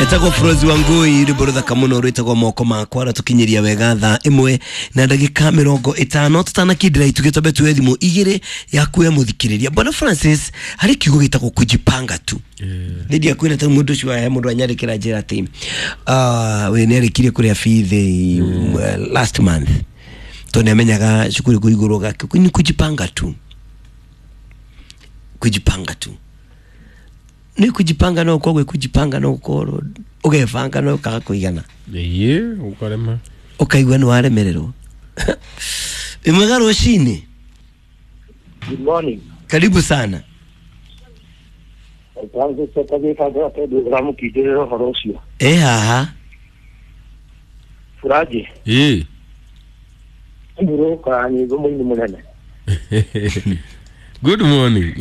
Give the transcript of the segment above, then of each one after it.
Etagwo Frozi wa Ngui, rwimbo ruthaka muno rwitagwo moko makwa ratukinyiria wega thaa imwe na ndagika 50 tutanakindira itugĩ twambe tuoe thimũ igĩrĩ yaku ya mũthikĩrĩria. Bwana Francis, harĩ kiugo gĩtagwo kujipanga tu nä ndiakwä ta må ndå å cio he må ndå anyandä kä ra njä ra atä we nä arä kirie kå rä a bithi last month tondå nä amenyaga cukuru kå igå rwo ni kujipanga tu, kujipanga tu nä kujipanga no kogwe kujipanga no korwo ũgebanga no ũkaga kũigana. Ĩĩ, ũkarema. Ũkaigua nĩ waremererwo. Ĩmwega rũcinĩ. Good morning. Karibu sana. Ũramũkindĩrĩra ũhoro ũcio. Ĩ haha. Furaji. Ĩĩ. Mbũrũka nyĩmbo mũini mũnene. Good morning.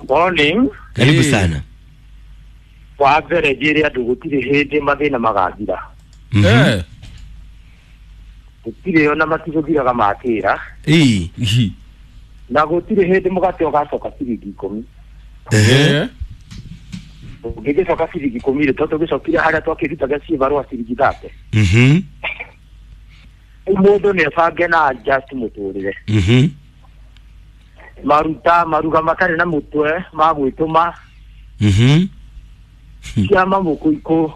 Morning. Karibu Ĩĩ. sana. Wa mbere njĩre andũ gũtirĩ hĩndĩ mathĩna magathira. Eh. Gũtirĩ ona matigũthiraga makĩra. Ĩ. Hi. Na gũtirĩ hĩndĩ mũgate ũgacoka ciringi 10. Eh. Ũngĩgĩcoka ciringi 10 rĩ, tondũ tũgĩcokire harĩa twakĩrutaga ciĩbarũa ciringi 30. Rĩu mũndũ nĩ ebange na adjust mũtũrĩre. Maruta maruga matarĩ na mũtwe ma gwĩtũma ciama mũkũikũ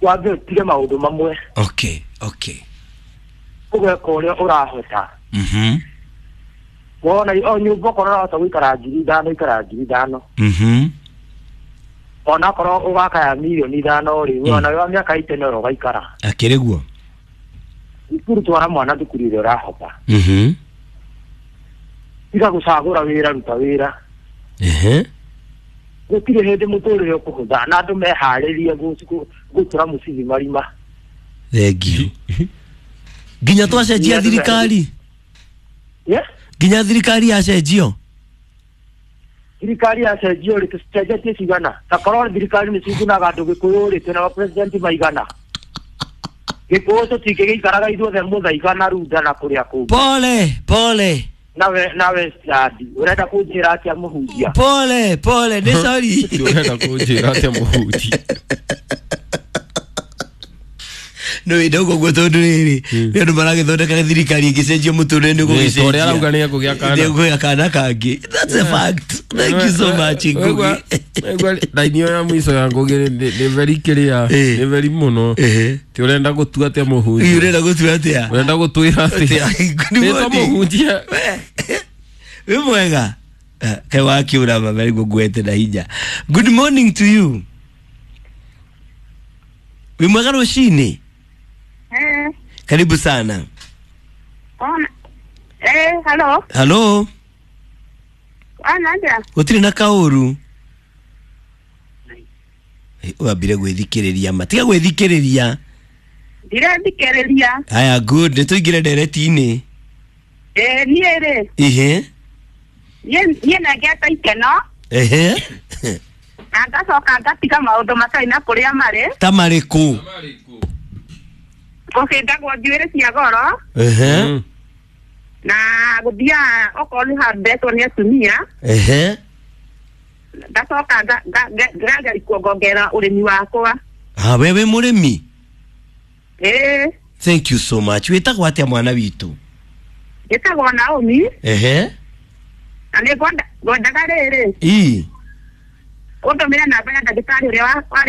wambe ũtige maũndũ mamwe. Okay, okay. Ũgeka ũrĩa ũrahota. Wona o nyũmba okorwo ũrahota gũikara 5,000 ikara 5,000. Onakorwo ũgakaya mirioni 5 rĩ, ona wĩ wa mĩaka 80 no ũgaikara. Akĩrĩ guo. Thukuru twara mwana thukuru ĩrĩa ũrahota. Tiga gũcagũra wĩra, ruta wĩra. Gũtirĩ hĩndĩ mũtũrĩre ũkũhũtha na andũ meharĩrie gũtura mũcibi marima. Thengiũ. Nginya twacenjia thirikari. Yeah? Nginya thirikari yacenjio. Thirikari yacenjio rĩ, tũcenjetie cigana? Ta korwo thirikari nĩ cigunaga andũ Gĩkũyũ rĩ, twĩna mapresident maigana. Gĩkũyũ tũtingĩgĩikaraga ithuothe Mũthaiga na Runda na kũrĩa kũngĩ. Pole pole. Nawe nawe Stadi, ũrenda kũnjĩra atĩa mũhunjia? Pole pole, nĩ sorry. Ti ũrenda kũnjĩra atĩa mũhunjia? No ä ndauga å guo tondå rä rä nä andå maragä thirikari ä ngä cenjio må tå rä nä gå Ĩ, ta ũrĩa arauga nĩ ekũgĩa kana. gä kana kangä. That's a fact. Thank you so much, Ngugi. Raini ĩyo ya mũico ya Ngugi nĩ very kĩrĩa, Ĩ. nĩ very mũno. Ehe. Ti ũrenda gũtua atĩa mũhunjia? Ũrenda gå tua atä a? Ũrenda gũtwĩra atĩa? Good Nĩ ta morning. mũhunjia. Wĩ mwega. Kaĩ wakä å ra mameriguo ngwete na hinya. Good morning to you. Wĩ mwega rũcinĩ. Eh, Karibu sana. ona. Eh, hello. Halo. Ona aja. Gũtirĩ na kaũru. Wambire gwĩthikĩrĩria ma tiga gwĩthikĩrĩria. Ndirathikĩrĩria. Haya, good, nĩ tũingĩre ndereti-inĩ. Eh, niĩ rĩ, Ihe. niĩ nengete ikeno Ehe. na ngacoka ngatiga maũndũ matarĩ na kũrĩa marĩ. Ta marĩkũ? Gũcindagwo njuĩrĩ cia goro Ehe. Na gũthiaga okorwo nĩ handetwo nĩ atumia. Ehe. Ngacoka ngageria kuongongerera ũrĩmi wakwa. Ha, we wĩ mũrĩmi? Ĩĩ. Thank you so much. Wĩtagwo atĩa mwana witũ? Njĩtagwo Naomi. Ehe. Na nĩ ngwendaga rĩrĩ Ii. ũndũmĩre namba ya ndagĩtarĩ ũrĩa warĩ.